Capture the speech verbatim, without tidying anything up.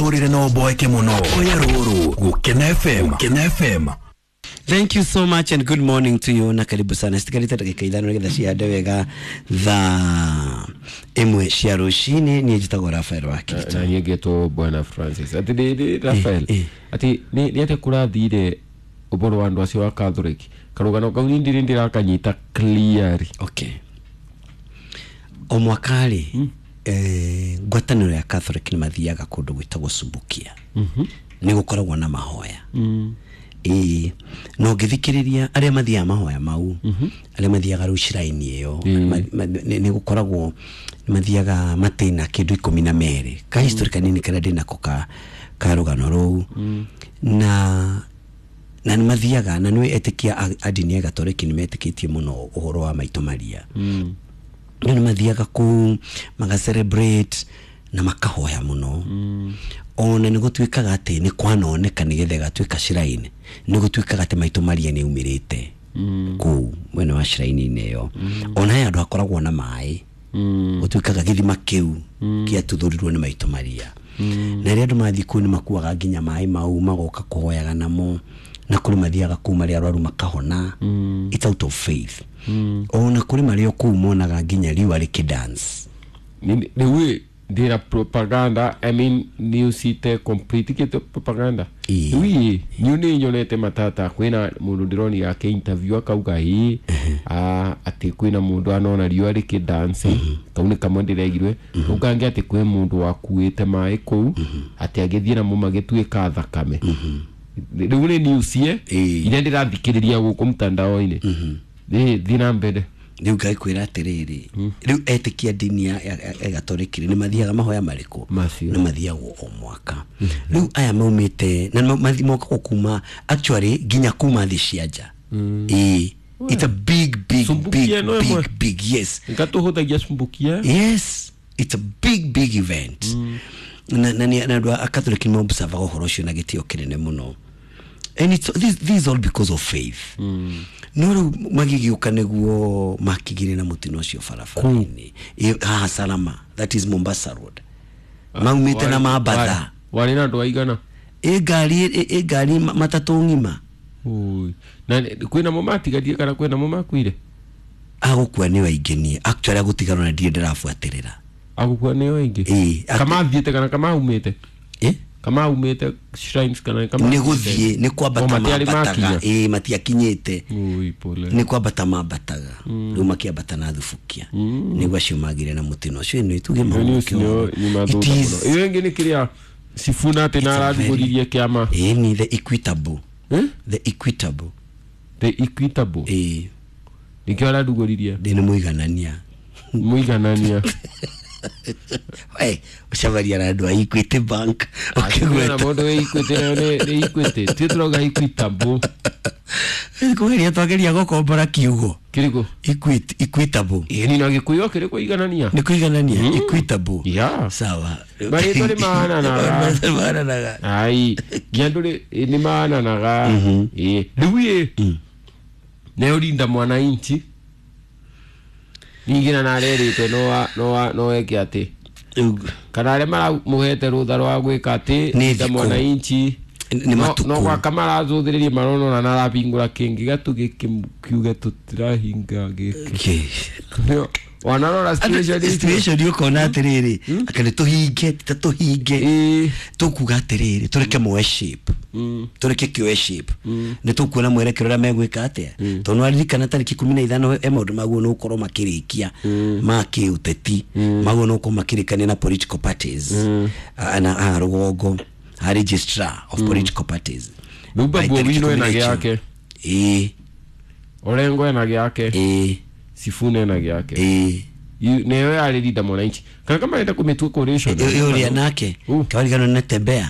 Mũtũrĩre no ũboeke mũno. Oya rũrũ Gũkena F M. Gũkena F M. Thank you so much and good morning to you na karibu sana. Sitikarite dakika ithano nigetha cihande wega thaa ĩmwe cia rũcinĩ. Niĩ njĩtagwo Rafael wa Kirito. Na niĩ ngetwo Bwana Francis. Ati nĩ nĩ Rafael. Eh, eh. Ati nĩ nĩ atĩ kũrathire ũboro wa andũ acio a Catholic. Karũgano kau niĩ ndirĩ ndĩrakanyita clearly. Okay. O mwaka rĩ, eh, ngwatanĩro ya Catholic nĩ mathiaga kũndũ gwĩtagwo Subukia. Nĩ gũkoragwo na mahoya. Ĩĩ, na ũngĩthikĩrĩria arĩa mathiaga mahoya mau, arĩa mathiaga rĩu shrine ĩyo, ma- ma- nĩ nĩ gũkoragwo nĩ mathiaga matĩna kĩndũ ikũmi na merĩ. Ka history kanini karĩa ndĩnako ka ka rũgano rũu. Na na nĩ mathiaga na nĩ etĩkia a, a ndini ya Gatoreki nĩ metĩkĩtie mũno ũhoro wa Maitũ Maria. No nĩ mathiaga kũu maga celebrate na makahoya mũno. Ona nĩ gũtuĩkaga atĩ nĩ kwanoneka nĩgetha ĩgatuĩka shrine, nĩ gũtuĩkaga atĩ Maitũ Maria nĩ aumĩrĩte kũu mwena wa shrine-inĩ ĩyo. Ona he handũ hakoragwo na maĩ, gũtuĩkaga gĩthima kĩu kĩatuthũrirwo nĩ Maitũ Maria. Na rĩrĩa andũ mathiĩ kũu nĩ makuaga nginya maĩ mau magoka kũhoyaga namo, na kũrĩ mathiaga kũu marĩ arwaru makahona. It's out of faith. Ona kũrĩ marĩ o kũu monaga nginya riũa rĩkĩ dance. Nĩ- Rĩu ndĩra propaganda, I mean news ite complete kĩte propaganda. Ĩĩ. Rĩu ĩ niũ nĩ nyonete matata kwĩna mũndũ ndĩronire ake interview akauga ĩ ah, atĩ kwĩna mũndũ anona riũa rĩkĩ dance. Kau nĩ kamwe ndĩregirwe. Kau kangĩ atĩ kwĩ mũndũ wakuĩte maĩ kũu atĩ agĩthiĩ namo magĩtuĩka thakame. Rĩu nĩ news ye Ĩĩ. iria ndĩrathikĩrĩria gũkũ mtandao-inĩ. Ĩ thiĩ na mbere. Rĩu ngakwĩra atĩrĩrĩ, rĩu etĩkia ndini ya ya- ya Gatoreki nĩ mathiaga mahoya marĩkũ? Macio. Nĩ mathiagwo o mwaka. Rĩu aya maumĩte na nĩ mathi- mokaga kuma actually nginya kuma thĩ cia nja. Ĩĩ, it's a big big big Sumbukia no ĩmwe. big big, yes. Ngatũhũthagia cumbukia. Yes, it's a big big event. Na na nĩ- na andũ a Catholic nĩ observaga ũhoro ũcio na gĩtĩo kĩnene mũno, and it's, this, this is all because of faith. No rĩu magĩgĩũka nĩguo makigire na mũtino ũcio barabara-inĩ. Ĩ- haha Salama, that is Mombasa Road, maumĩte na mambatha. Warĩ na andũ aigana? Ĩ ngari ĩ ĩ ngari ma- matatũ ng'ima. Ui. Na kwĩna mo matigarie kana kwĩna mo makuire? Agũkua nĩ aingĩ. Niĩ actually agũtigarwo na ndirĩ ndĩrabuatĩrĩra. Agũkua nĩo aingĩ? Ĩ, actu- Kamathiĩte kana kamaumĩte? Ĩ? Kamaumĩte shrines kana kama Nĩ gũthiĩ, nĩ kwambata O, matiarĩ mambataga. makinya? Ĩ, matiakinyĩte. Ui, pole. Nĩ kwambata mambataga, rĩu makĩambata na thubukia nĩguo acio magire na mũtino ũcio. Ĩno ituge Ĩyo news nĩyo nyuma It thutha is mũno. Ĩyo ĩngĩ nĩ kĩrĩa Sifuna atĩ na arathugũririe kĩama. Ĩ, ni the Equitable. Eh? The Equitable. The Equitable. Ĩ. Nĩkĩo arathugũririe. Ndĩ nĩ mũiganania. Mũiganania. We ũcemaria na andũ a Equity Bank Kwĩna ũkĩgweta. Mũndũ wĩ Equity nayo nĩ nĩ Equity tuĩ tũrauga Equitable. Kũgeria twageria gũkombora kiugo. Kĩrĩkũ? Equity, Equitable. Ĩ ni na Gĩkũyũ kĩrĩ kũiganania. Nĩ kũiganania, equitable. Yeah. Sawa. Marĩtwa nĩ mahananaga. Mahananaga. Ai nginya ndũrĩ nĩ mahananaga. Ĩ rĩu ĩ nayo Linda Mwananchi ningĩ na narerĩtwe no no no eke atĩ Rĩu kana arĩa maramũhete rũtha rwa gwĩka atĩ Nĩ Linda thikũ. Mwananchi Nĩ no- matukũ. no gwaka marathũthĩrĩria maronona na arahingũra kĩngĩ gatu gĩkĩ kiuge tũtirahinga gĩkĩ. Okay. Nĩo, wanarora situation icio? Situation ũkona atĩrĩrĩ, aka nĩ tũhinge ta tũhinge. Ĩ. Tũkuga atĩrĩrĩ, tũreke moe shape, tũreke kĩoe shape, nĩ tũkuona mwerekero ũrĩa megwĩka atĩa, tondũ nĩwaririkana tarĩki ikũmi na ithano e maũndũ maguo nĩ gũkorwo makĩrĩkia ma kĩũteti, maguo nĩ gũkorwo makĩrĩkania na political parties. Ah, na haha rũgongo ha registrar of political parties. Rĩu By Babu tarĩki Owino ikũmi ena na inya. gĩake. Ĩ. Orengo ena gĩake. Ĩ. Sifuna ena gĩake. Ĩ. Yu- nĩyo yarĩ Linda Mwananchi kana kama arenda kũmĩtua coalition. Ĩ- ũrĩa nake Uh. kawarigano nĩ tembea.